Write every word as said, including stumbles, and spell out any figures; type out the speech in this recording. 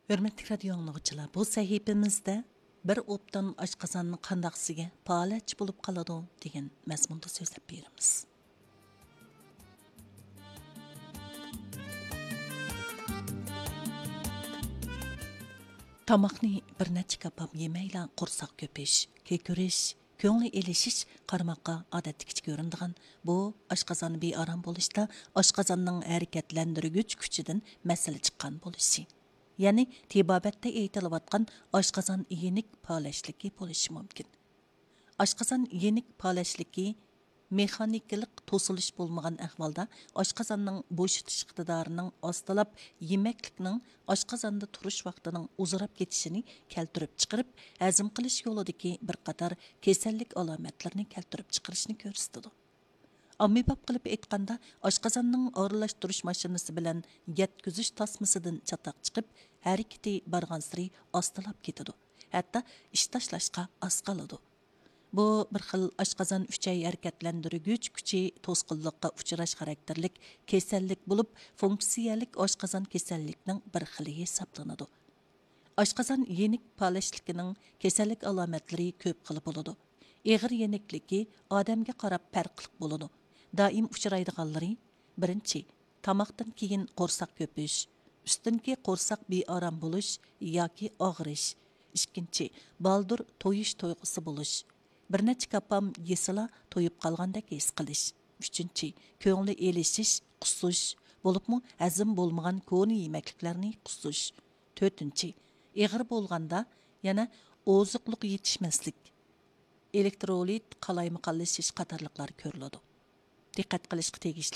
ھۆرمەتلىك رادىيو ئاڭلىغۇچىلار، بۇ سەھىپىمىزدە «بىر ئوبدان ئاشقازان قانداقسىگە پالەچ بولۇپ قالىدۇ» دېگەن مەزمۇندا سۆزلەپ بېرىمىز. تاماقنى بىر نەچچە كاپام يېمەيلا قورساق كۆپۈش، كېكىرىش، كۆڭلى ئېلىشىش قارىماققا ئادەتتىكىچە كۆرۈنىدىغان بۇ ئاشقازان بىئارام بولۇشتا ئاشقازاننىڭ ھەرىكەتلەندۈرگۈچ كۈچىدىن مەسىلە چىققان بولۇشى، يەنى تېبابەتتە ئېيتىلىۋاتقان ئاشقازان يېنىك پالەچلىكى بولۇشى مۇمكىن. ئاشقازان يېنىك پالەچلىكى مېخانىكىلىق توسۇلۇش بولمىغان ئەھۋالدا ئاشقازاننىڭ بوشىتىش ئىقتىدارىنىڭ ئاستىلاپ، يېمەكلىكنىڭ ئاشقازاندا تۇرۇش ۋاقتىنىڭ ئۇزىراپ كېتىشىنى كەلتۈرۈپ چىقىرىپ، ھەزىم قىلىش يولىدىكى بىر قاتار كېسەللىك ئالامەتلىرىنى كەلتۈرۈپ چىقىرىشنى كۆرسىتىدۇ. ئاممىباب قىلىپ ئېيتقاندا، ئاشقازاننىڭ ئارىلاشتۇرۇش ماشىنىسى بىلەن يەتكۈزۈش تاسمىسىدىن چاتاق چىقىپ، ھەرىكىتى بارغانسېرى ئاستىلاپ كېتىدۇ، ھەتتا ئىش تاشلاشقا ئاز قالىدۇ. بۇ بىر خىل ئاشقازان ئۈچەي ھەرىكەتلەندۈرگۈچ كۈچى توسقۇنلۇققا ئۇچراش خاراكتېرلىك كېسەللىك بولۇپ، فۇنكسىيەلىك ئاشقازان كېسەللىكنىڭ بىر خىلى ھېسابلىنىدۇ. ئاشقازان يېنىك پالەچلىكىنىڭ كېسەللىك ئالامەتلىرى كۆپ خىل بولىدۇ. ئېغىر يېنىكلىكى ئادەمگە قاراپ پەرقلىق بولىدۇ. دائىم ئۇچرايدىغانلىرى: بىرىنچى، تاماقتىن كېيىن قورساق كۆپۈش، ئۈستۈنكى قورساق بىئارام بولۇش ياكى ئاغرىش. ئىككىنچى، بالدۇر تويۇش تۇيغۇسى بولۇش. بىر نەچچە كاپام يېسىلا تويۇپ قالغاندەك ھېس قىلىش. ئۈچىنچى، كۆڭلى ئېلىشىش، قۇسۇش، بولۇپمۇ ھەزىم بولمىغان كونا يېمەكلىكلەرنى قۇسۇش. تۆتىنچى، ئېغىر بولغاندا يەنە ئوزۇقلۇق يېتىشمەسلىك، ئېلېكترولىت قالايمىقانلىشىش قاتارلىقلار كۆرۈلىدۇ. دىققەت قىلىشقا تېگىشلىك